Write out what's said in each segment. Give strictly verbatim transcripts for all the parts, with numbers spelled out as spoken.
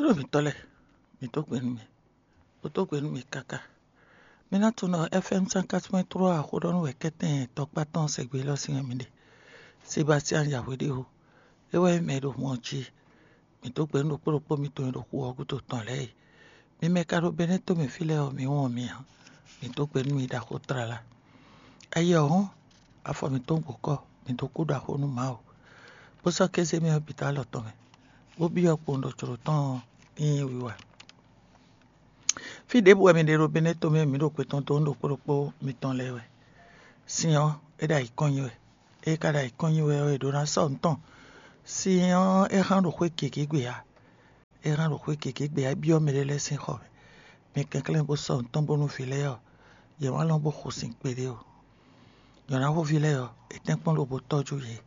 Ɖo mǐtɔn lɛ́ɛ, mǐ dó gbe nú mi, bó dó gbe nú mi káká. Mi ná tunwun ɖɔ F M cent quatre point trois xó ɖɔ nú wɛ kɛ́tɛn tɔkpá tɔn sɛgbe élɔ́ sín wɛ mi ɖe. Sebastian Yahweh ɖe o, é wɛ nyí mɛ e ɖo mɔ ɔ́ jí. Mǐ dó gbe nú ɖokpó ɖokpó mitɔn e ɖo xu ɔ́ gúdo tɔn lɛ́ɛ e. Mi mɛ e ka ɖo Benɛ́to mɛ fí lɛ́ɛ ɔ́, mi wɔn mi ǎ. Mǐ dó gbe nú mi ɖaxó tlala. Ayɛ ɔ́ hɔ́n, afɔ mǐtɔn gbǒkɔ, mǐ dó kú ɖaxó nú Mawu, bó sɔ́ kéze mɛ ɔ́ bǐ dó alɔ tɔn mɛ, bó byɔ́ kpowun ɖo jlǒ tɔn ɔ́ nyí wiwa. Fí ɖěbǔ wɛ mi ɖe ɖo Benɛ́to mɛ, mǐ ɖo kwe tɔn dó nú ɖokpó ɖokpó mitɔn lɛ́ɛ wɛ. Sin ɔ́, é ɖo ayǐ kɔn nyi wɛ. É ka ɖo ayǐ kɔn nyi wɛ ɔ́, è ɖǒ ná sɔ́ nǔ tɔn. Sin ɔ́, é hán ɖo xwé gěgé gbe ǎ. É hán ɖo xwé gěgé gbe ǎ, é byɔ́ mɛɖé lɛ́ɛ sín xɔ mɛ. Mi kɛnklɛ́n bó sɔ́ nǔ tɔn bónú vǐ lɛ́ɛ ɔ́, yě má lɔn bó xo sin kpeɖé o. Nyɔ̌náxóví lɛ́ɛ ɔ́, é tɛ́nkpɔ́n lobo tɔ́jú yě.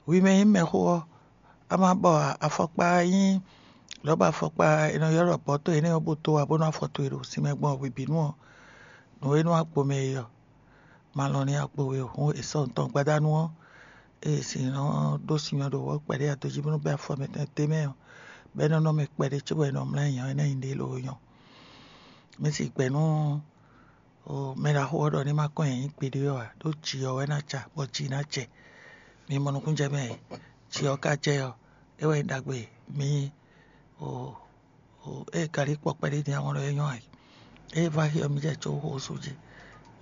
Hwi mɛ e nyí mɛxó ɔ́, a ma bɔ afɔkpa e nyí lɔ̌ba afɔkpa e nɔ ylɔ́ ɖɔ bɔ̌to énɛ́ ɔ́ bó dó wá bónú afɔ towe ɖo sinmɛ gbɔn hwebǐnu ɔ́, nǔ e nɔ wá gbo mɛ é ɔ́, ma lɔn n'i wá gbo we o. Hǔn è sɔ́ nǔ tɔn gbadanu ɔ́, ée è si nɔ ɖó sinmɛ ɖo wɔ̌ kpɛɖé adojí bónú bɛ́ afɔ mɛtɔn d'é mɛ ɔ́, bɔ é nɔ nɔ mɛ kpɛɖé cóbɔ è nɔ mlɔ́ ayǐ ɔ́, énɛ́ nyi ɖě loo nyɔ. Mǐ si gbɛ̌ nú mɛ ɖaxó ɔ́ ɖɔ ní ma kɔn nyi gbeɖé ɔ́ ǎ, ɖó jǐ ɔ́ wɛ ná ja, bɔ jǐ ná jɛ. Mi mɔ nukúnnú jɛ mɛ e jǐ ɔ́ ka jɛ ɔ́, é wɛ nyí ɖagbe mǐ o. Ée galí kpɔ kpɛɖé din ahɔn lɔ é nyɔ́ ayǐ. Ée vá xi ɔ́, mì jɛ có xó sú jí.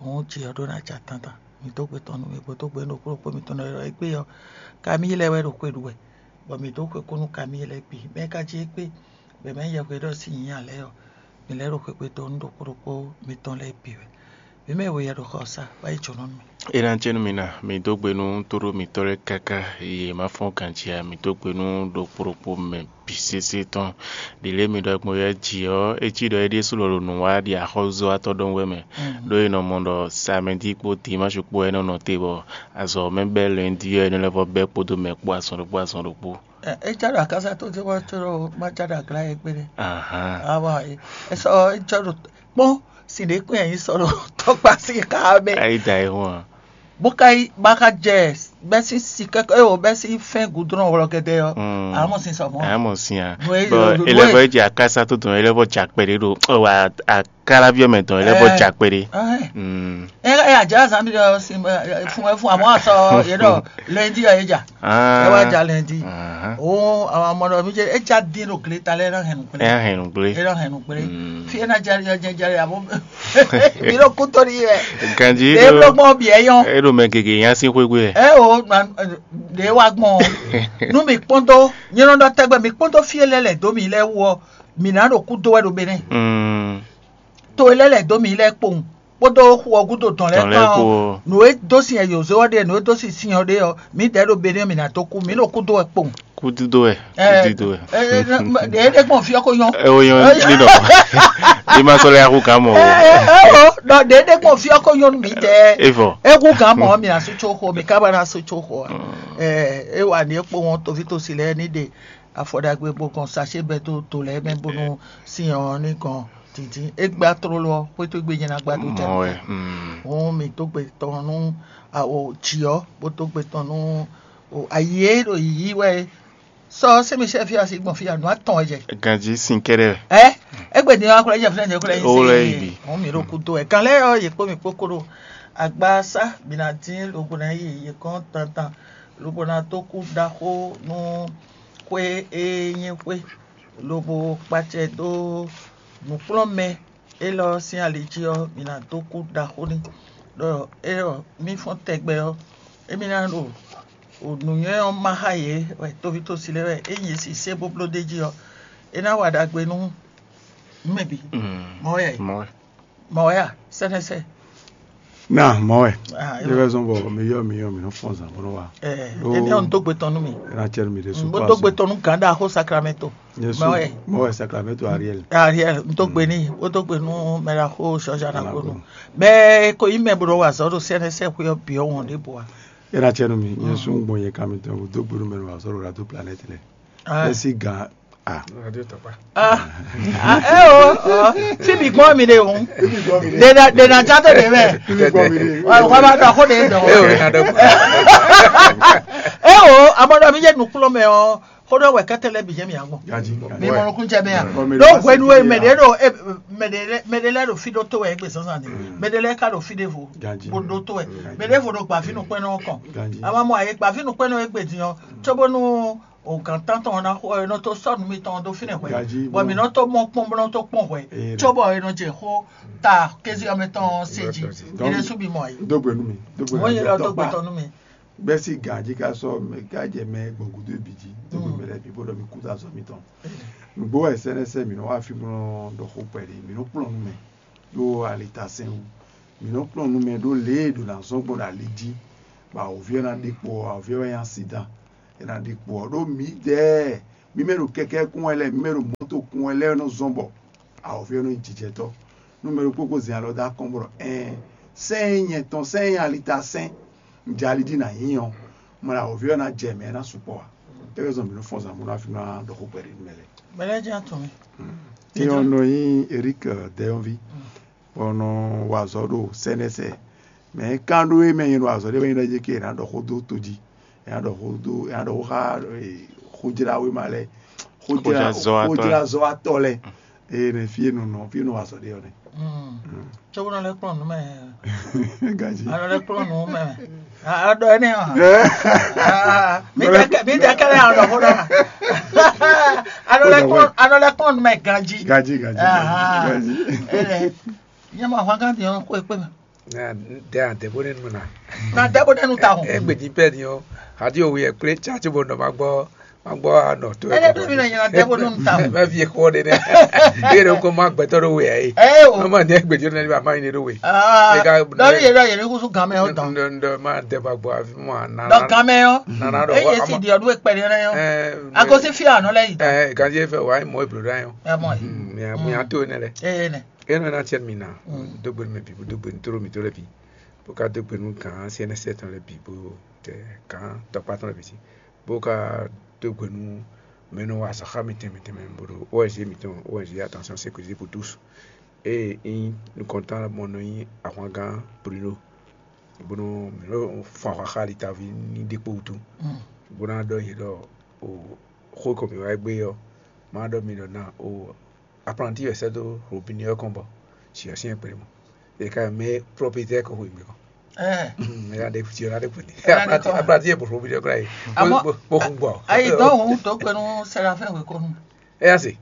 Hǔn jǐ ɔ́ ɖó ná ja tantan. Mǐ dó gbe tɔn nú mì, bó dó gbe nú ɖokpó ɖokpó mitɔn lɛ́ɛ ɖɔ égbé ɔ́, kamíyi lɛ́ɛ wɛ ɖo xwe ɖu wɛ, bɔ mǐ dó xwe kú nú kamíyi lɛ́ɛ bǐ. Mɛ e ka jí égbé, bɔ è mɛ nyí yɛhweɖɔ sín nyǐ ǎ lɛ́ɛ ɔ́, mǐ lɛ́ ɖo xwegbe dó nú ɖokpó ɖokpó mitɔn lɛ́ɛ bǐ wɛ. Mǐ mɛ e we yɛ ɖo xɔ ɔ́ sá, wá yi jǒnɔ nú mì. É ná jɛ nú mi ná, mi dó gbe nú tóɖó mitɔ́ lɛ́ɛ káká, yě má fɔ́n ganjí ǎ. Mi dó gbe nú ɖokpó ɖokpó mɛ bǐ sésé tɔn. Ɖi lě mi ɖɔ gbɔn yɛ jǐ ɔ́, é cí ɖɔ é ɖésú lɔ ɖo nǔ wa ɖi axɔ́zɔ́watɔ́ ɖɔhun wɛ mɛ, ɖó è nɔ mɔ ɖɔ samɛdí kpó dimáshi kpó wɛ é nɔ nɔ te, bɔ azɔ̌ mɛ bɛ́ lɛ̌ndí ɔ́, é nɔ lɛ́ vɔ́ bɛ́ kpódó mɛ kpó azɔn ɖokpó azɔn ɖokpó. É já ɖo akásá tó dé wá tó ɖo má já ɖo aglá yɛ kpé ɖé. Awa é sɔ é jɔ ɖo kpɔ́n sin ɖé kpé yɛ sɔ ɖo tɔkpa sí ká mɛ. Ayi da é hɔn. Bó ká yí bá ká jɛ bɛ́ sín si kɛ́kɛ́ é o bɛ́ sín fɛ́n gǔdrɔn wlɔ kɛtɛ ɔ́. Amɔ sin sɔ mɔ. Amɔ sin a. Bɔ elɛvɔ jɛ akásá tó dɔn elɛvɔ jà kpɛɖé ɖo wa akáláví ɔmɛ dɔn elɛvɔ jà kpɛɖé. Ɛ ɛ àjá zan mi ɖɔ sin fún ɛ fún àmọ́ sɔ yé ɖɔ lɛndi ɔ yé jà. Ɛ wá jà lɛndi. O àwọn ọmọ mi jẹ ẹ já dín ɖo glé ta lɛ ẹ náà hẹn nù kplé. Ẹ hẹn nù kplé. Ẹ náà hẹn nù kplé. Fi ẹ náà jáde jáde jáde àbọ̀ mi ló kú tó ní yẹ. Ganji ẹ ló gbọ́n bí ẹ yán. Ẹ ló mẹ gègé yán sí xwégbé. Ẹ o ɖe wá gbọ́n o. Nú mi kpɔ́n dó nyɛ nɔ ɖɔ tɛgbɛ mi kpɔ́n dó fi ẹ lɛ lɛ dó mi lɛ wú ɔ mi nǎ ɖo kú dó wɛ ɖo Benɛ́. To e lɛ́ lɛ̌ dó mǐ lɛ́ɛ kpowun, kpódó xu ɔ́ gúdo dɔn lɛ́ɛ kpán ɔ́, nǔ e dó sin Yozóɛ ɖe, nǔ e dó sin sin ɔ́ ɖe ɔ́, mǐdɛɛ ɖo Benɛ́ɛ mǐ ná dó kú, mǐ ɖo kúdó wɛ kpowun. Kúdó wɛ, kúdó wɛ. Ɖě ɖé gbɔn fí ɔ́ ko nyɔ́. Ɛ o nyɔ́ ní ɖɔ. Bí ma sɔ́ lɛ́ axú gǎn mɔ o. Ɛ o, ɖɔ ɖě ɖé gbɔn fí ɔ́ ko nyɔ́ nú mǐdɛɛ. É vɔ. É hú gǎn mɔ ɔ́, mǐ ná sú có xo, mǐ ka ba ná sú có xo ǎ. Ɛ é wa ní é kpowun ɔ́, toví tosi lɛ́ɛ ní ɖe afɔ ɖagbe bó gɔn sacé bɛ́ dó to lɛ́ɛ mɛ bónú sin ɔ́ ní gɔn dǐndín. É gbá tlóló ɔ́, xwétó gbe nyɛ ná gbá dó jɛ. Mɔ̌ wɛ. Hǔn mǐ dó gbe tɔn nú awo jǐ ɔ́, bó dó gbe tɔn nú ayi e ɖo yǐyí wɛ é. Sɔ sɛ́ mi sɛ́ fí asi gbɔn fí anu atɔn wɛ jɛ. Ganjí sin kɛ́ɖɛ́. Ɛ égbé din ɔ́, akwɛ́ jɛ fúnɛ jɛ kúlɛ yín. Ó lɛ́ yí bǐ. Hǔn mǐ ɖo kúdó wɛ. Kan lɛ́ɛ ɔ́, yě kpó mi kpó kó ɖo agbasá bǐ ná dín lobo ná yi yě kɔn tantan, lobo ná dó kú ɖaxó nú xwé e nyí xwé, lobo kpacɛ dó nǔkplɔ́nmɛ élɔ́ sín ali jí ɔ́, mi ná dó kú ɖaxó n'i. Ɖɔ é ɔ́, mí fɔ́n tɛgbɛ ɔ́, émí ná ɖo nǔnywɛ́ ɔ́ má xá yě wɛ tóví tósi lɛ́ɛ wɛ é nyi si sé bó bló d'é jí ɔ́, é ná wa ɖagbe nú mɛ bǐ. Mɔ̌ wɛ mɔ̌ wɛ mɔ̌ wɛ a sɛnɛsɛ. Na mɔ̌ wɛ. Ah, é wɛ zɔn bɔ mi yɔ mi yɔ mi nɔ fɔn zan bó nɔ wa. Ɛ Ɖó- émi ɔn dó gbe tɔn nú mi. Ena cɛ mi ɖe su bó dó gbe tɔn nú gǎn ɖaxó sakramento. Yesu Mɔ̌ wɛ. Mɔ̌ wɛ sakramento Ariel. Ariel n tó gbe ní, ó tó gbe nú mɛ ɖaxó sɔjà na kó nu. Mɛ ko yí mɛ bó nɔ wa azɔ̌ ɖo sɛnɛsɛ xwé ɔ́ bǐ ɔ́ wɔn ɖěbǔ wa. Ena cɛ nu mi Yesu ń gbɔn yɛ ká mi tɔn dó gbe nú mɛ nɔ wa azɔ̌ ɖo radio planète lɛ. Esi gǎn. Ah. Ah, eh, oh, oh. Fi mi gbɔn mi de hun. De na de na ja to de mɛ. Wa wa ma dɔ ko de dɔ. Eh, oh, amɔ dɔ mi je nukplɔ mɛ o. Xó ɖɔ wɛ kɛ́tɛ́ lɛ́ɛ bǐ jɛ mì agbɔn. Mi mɔ nukún jɛ mɛ a? Ɖó hwenu e mɛɖé ɖo mɛɖé lɛ́ɛ ɖo fí ɖó tó wɛ égbé zǎnzǎn ni, mɛɖé lɛ́ɛ ka ɖo fí ɖěvo bó ɖó tó wɛ. Mɛɖěvo ɖo gbǎví nukpɛ́nnɔ kɔn. A ma mɔ ayé gbǎví nukpɛ́nnɔ égbé din ɔ́, cóbónú o gǎn tántɔn ɔ́ ná xo ɔ́, é nɔ tó sɔ́ nǔ mitɔn dó fínɛ́ hwɛ̌, bɔ mǐ nɔ tó mɔ kpɔ́n bó nɔ tó kpɔ́n hwɛ̌, cóbɔ è nɔ jɛ xó ta kéze ɔ́ mɛ tɔn ɔ́ se jí. Mi ɖésú mi mɔ ayé. Dó gbe nú mi. Dó gbe nú mi. Wọ́n yẹ lọ dó gbe tɔn nú mi. Gbɛ́ sín gǎn jí ká sɔ́ mɛ ká jɛ mɛ gbɔn gúdo bǐ jí, dó gbe mɛ lɛ́ɛ bǐ bó ɖɔ mi kú dó azɔ̌ mitɔn. Nǔgbó wɛ sɛ́nɛ́sɛ́ mǐ nɔ wá fí bó nɔ ɖɔ xó kpɛɖé, mǐ nɔ kplɔ́n nú mɛ ɖó alitasɛn wú. Mǐ nɔ kplɔ́n nú mɛ ɖó lě e ɖo ná zɔ́n gbɔn ɖo ali jí, bɔ awǒvi ɔ́ ná ɖe kpo ɔ́, awǒvi ɔ́ wɛ nyí asidán. É ná ɖe kpo ɔ́, ɖó mǐdɛɛ, mǐ mɛ ɖo kɛkɛ́ kún wɛ lɛ́ɛ, mǐ mɛ ɖo mɔ̌to kún wɛ lɛ́ɛ nɔ zɔ́n bɔ awǒvi ɔ́ nɔ nyí jijɛtɔ́. Nú mɛ ɖokpó ko zɛn alɔ dó akɔ́n bɔ ɖɔ ɛɛn, sɛ́n e nyɛ tɔn, sɛ́n e nyɛ alitasɛn, un jɛ ali jí nǎ nyí ɔ́, mɔ ɖo awǒvi ɔ́ ná jɛ mɛ ná sukpɔ́ ǎ. É wɛ zɔn mǐ nɔ fɔ́n zǎn bó ná fí ná ɖɔ xó kpɛɖé nú mɛ lɛ́ɛ. Mɛ lɛ́ɛ jɛ́n atɔn mɛ. Nyɛ ɔ́ nɔ nyí Erik Dɛyɔ́nví, bɔ un nɔ wa azɔ̌ ɖo sɛ́nɛ́sɛ. Mɛ kan ɖó e mɛ nyɛ ɖo azɔ̌ ɖé wɛ nyɛ ɖɔ ké è nǎ ɖɔ xó dó to jí, è nǎ ɖɔ xó dó, è nǎ ɖɔ xó xá xójláwéma lɛ́ɛ, xójlázɔ́watɔ́ lɛ́ɛ. Ee, nɛ fí e nɔ nɔ, fí e nɔ wa azɔ̌ ɖé ɔ́ nɛ. Cóbó nɔ lɛ́ kplɔ́n nǔ mɛ. Ganjí. A nɔ lɛ́ kplɔ́n nǔ mɛ. A ɖɔ énɛ́ ɔ́. Mi dɛ kɛ mi dɛ kɛlɛ a ɖɔ xó ɖɔ. A nɔ lɛ́ kplɔ́n a nɔ lɛ́ kplɔ́n nǔ mɛ ganjí. Ganjí, ganjí, ganjí. Nyɛ mɔ ahwangán din ɔ́ xó e kpé mɛ. Dɛ a dɛ bó nɛnu na. Na dɛ bó nɛnu ta hɔn. Egbe din pɛ din ɔ́, hadi owe yɛ kplé tsa tso bɔ nɔ ma gbɔ ma gbɔ anɔ to. Ele bí mi na nyina dɛ bó nɛnu ta hɔn. Mɛ fi xɔ de nɛ. Yé ɖo ko ma gbɛtɔ ɖo we ayi. Ɛ o. Ɔmɔ ne egbe din ɔ́ nɛ ba ma yi ne ɖo we. Aa dɔbi yɛ dɔ yɛ ni kusu gan mɛ ɔ dɔn. Ndɔ ndɔ ma dɛ ba gbɔ afi mɔ ana. Dɔ gan mɛ ɔ. Nana ɖo eye si di ɔdu ekpɛ de nɛ ɔ. Agosi fi anɔ lɛ yi. Ɛ ganzi efɛ wa mɔ eblo ɖe ayɔ. Ɛ mɔ yi. Mi a to ne lɛ. Eye nɛ. Enu ena tiɛ mi na dó gbe nú mɛ bǐ, bó dó gbe nú tlóló mǐtɔn lɛ́ɛ bǐ, bó ka dó gbe nú gǎn C N S tɔn lɛ́ɛ bǐ, bó tɛ gǎn tɔkpá tɔn lɛ́ɛ bǐ sí, bó ka dó gbe nú mɛ e nɔ wa azɔ̌ xá mì tɛnmɛ tɛnmɛ bó ɖo O N G mǐtɔn, O N G Attention Sécurité pour tous, ée nyí nukɔntɔn mɔ nɔ nyí ahwangán Bruno, bó nɔ mǐ nɔ fun ahwa xá Litaví ní ɖe kpó wútu, bó ná ɖɔ nyi ɖɔ o xó ko mǐ wá gbé ɔ́, má ɖɔ mi ɖɔ ná o apprenti wɛ sɛ́ dó robinet ɔ́ kɔn bɔ si ɔ́ syɛ́n kplé mɔ. È ka mɛ propriétaire kɔ xweyǐgbe kɔn. Mɛ ya ɖe si ɔ́ ná ɖe kpɛni. Apprenti yɛ bɔ robinet ɔ́ kla yi. Bó xun gbɔ. Ayi dɔn òun tó kpɛnu Séraphin wekonu. Ɛ yá se.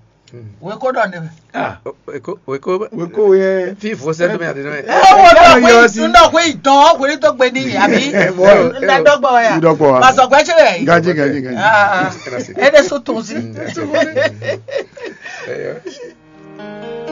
Weko ɖɔ ne. Ah, weko weko weko yɛ. Fi fo sɛ to mɛ ati mɛ. Ɛ wo dɔ xwe tun dɔ xwe dɔn xwe to gbe ni abi. Ɛ bɔ ɛ dɔgbɔ ya. Dɔgbɔ wa. Masɔgbɛ tse lɛ. Gaji gaji gaji. Ɛ de so tun si.